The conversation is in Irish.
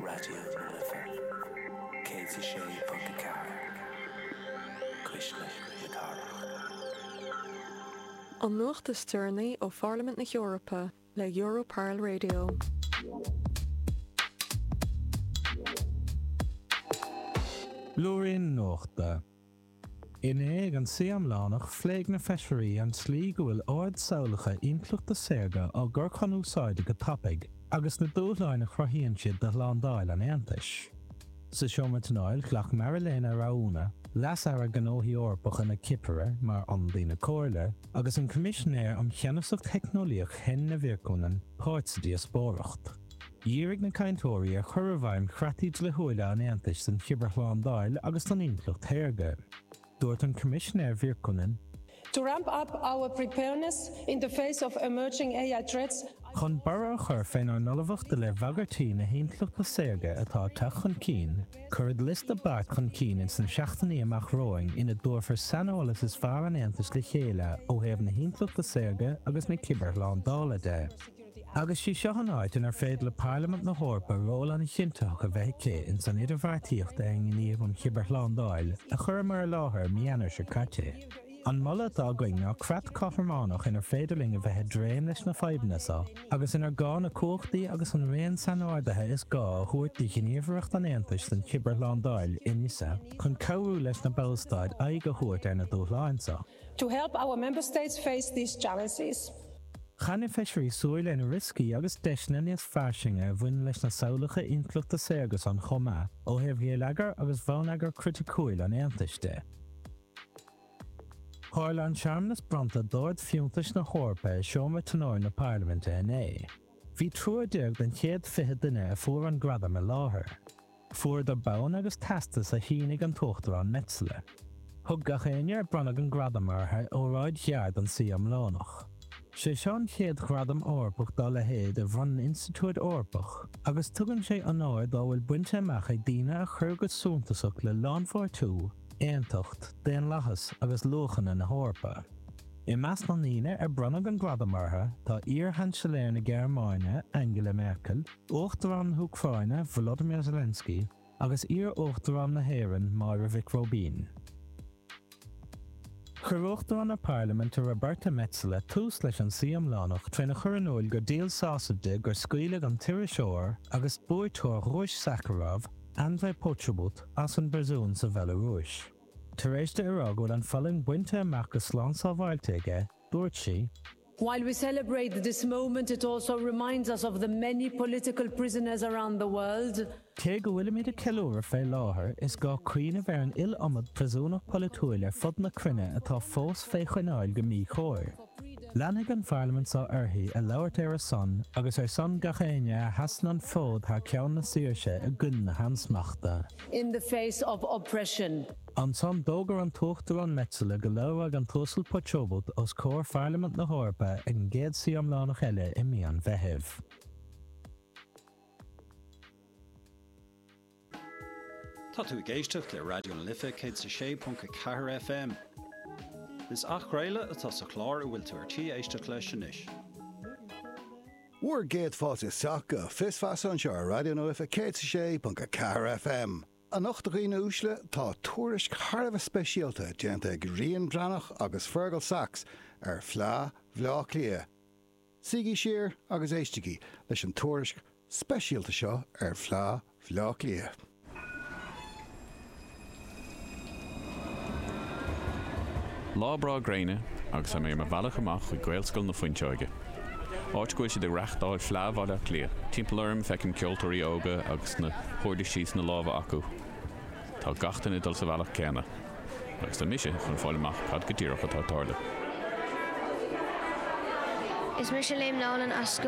Raidió na Life 106.4, Cuisle na Cathrach. An nuacht is deireanaí ó Pharlaimint na hEorpa le Europarl Radio. Blúirín Nuachta. Inné ag an suí iomlánach phléigh na feisirí an tslí go bhfuil ardsamhlacha intleachta saorga á gcur chun úsáide go tapaidh agus na dúshláin a chruthaíonn siad do shlándáil an Aontais. Sa seomra tionóil ghlac Marilena Raouna, Leas-Aire Gnóthaí Eorpacha na Cipire mar ionadaí na Comhairle, agus an Coimisinéir um Cheannasacht Theicneolaíoch Henna Virkkunen páirt sa díospóireacht. Dhírigh na cainteoirí ar chur i bhfeidhm chreataí dlíthiúla an Aontais don chibearshlándáil agus don intleacht shaorga. Dúirt an Coimisinéir Virkkunen. To ramp up our preparedness in the face of emerging AI threats, Chun borradh a chur fénár n-ullmhacht i leith bhagairtí na hintleachta saorga atá ag teacht chun cinn, cuirfead liosta beart chun cinn ins na seachtainí amach romhainn ina dtabharfar saineolas is fearr an Aontais le chéile ó thaobh na hintleachta saorga agus na cibearshlándála de. Agus sí seo an áit inar féidir le Parlaimint na hEorpa ról an-chinntitheach a bheith aici ins an idirbheartaíocht ar an nGníomh um Chibearshlándáil a chuireamar i láthair mí Eanáir seo caite. An moladh atá againn ná creat cothrománach inar féidir linn a bheith i dtréim leis na fadhbanna seo agus inar gá na cumhachtaí agus an raon sainordaithe is gá a thabhairt do Ghníomhaireacht an Aontais don Chibearshlándáil, ENISA, chun cabhrú leis na Ballstáit aghaidh a thabhairt ar na dúshláin seo. To help our Member States face these challenges. Chaith na feisirí súil ar na rioscaí agus deiseanna níos fairsinge a bhaineann leis na samhlacha intleachta saorga san chomh maith, ó thaobh gheilleagar agus bhonneagar criticiúil an Aontais de. Tharla an searmanas bronnta d'Ard-Fhiúntais na hEorpa i Seomra Tionóil na Parlaiminte inné. Bhí triúr den chéad 20 duine a fuair an gradam i láthair. Fuaireadar bonn agus teastas a shínigh an tUachtarán Metsola. Thug gach éinne ar bronnadh an gradam orthu óráid ghearr don suí iomlánach. Sé seo an chéad ghradam Eorpach dá leithéid a bhronnann institiúid Eorpach agus tugann sé onóir dá bhfuil bainte amach ag daoine a chuir go suntasach le lánpháirtiú, aontacht, daonlathas agus luachanna na hEorpa. I measc na ndaoine ar bronnadh an gradam orthu tá iar-Sheansailéir na Gearmáine, Angela Merkel, Uachtarán na hÚcráine, Volodymyr Zelensky, agus iar-Uachtarán na hÉireann, Máire Mhic Róibín. Chuir Uachtarán na Parlaiminte Roberta Metsola tús leis an suí iomlánach tréna chur in iúil gur díol sásaimh di gur scaoileadh an t-iriseoir agus buaiteoir Dhuais Sakharov, Andrei Pochobut, as an bpríosún sa Bhealarúis. Tar éis di a rá go bhfuil an fhulaingt bainte amach go slán sábháilte aige, dúirt sí, While we celebrate this moment, it also reminds us of the many political prisoners around the world. Cé go bhfuilimid ag ceiliúradh fé láthair, is gá cuimhneamh ar an iliomad príosúnach polaitiúil ar fud na cruinne atá fós fé choinneáil go míchóir. Leanfaidh an Pharlaimint seo uirthi ag labhairt ar a son agus ar son gach éinne a sheasann an fód thar ceann na saoirse i gcoinne na hansmachta. in the face of oppression. Ansan d'fhógair an tUachtarán Metsola go labhróidh an tUasal Poczobut os comhair Pharlaimint na hEorpa ag an gcéad suí iomlánach eile i mí an Mheithimh. Tá tú ag éisteacht le Raidió na Life 106.4 FM. Is athchraoladh atá sa chlár a bhfuil tú ar tí éisteacht leis anois. Bhur gcéad fáilte isteach go Fios Feasa anseo ar Raidió na Life 106.4 FM. Anocht a dhaoine uaisle, tá tuairisc thar a bheith speisialta déanta ag Rian Breathnach agus Fergal Sachs ar Fleá Bhaile Átha Cliath. Suígí siar agus éistigí leis an tuairisc speisialta seo ar Fhleá Bhaile Átha Cliath. Lá breá gréine agus tá mé ar mo bhealach amach chuig Gaelscoil na Fuinseoige, áit go bhfuil siad ag reachtáil Fleá Bhaile Átha Cliath. Timpeall orm feicim ceoltóirí óga agus na huirlisí sna lámha acu. Tá gach duine ag dul sa bhealach céanna. Agus tá mise chun fáil amach cad go díreach atá ag tarlú. Is mise Liam Nolan as Scoil.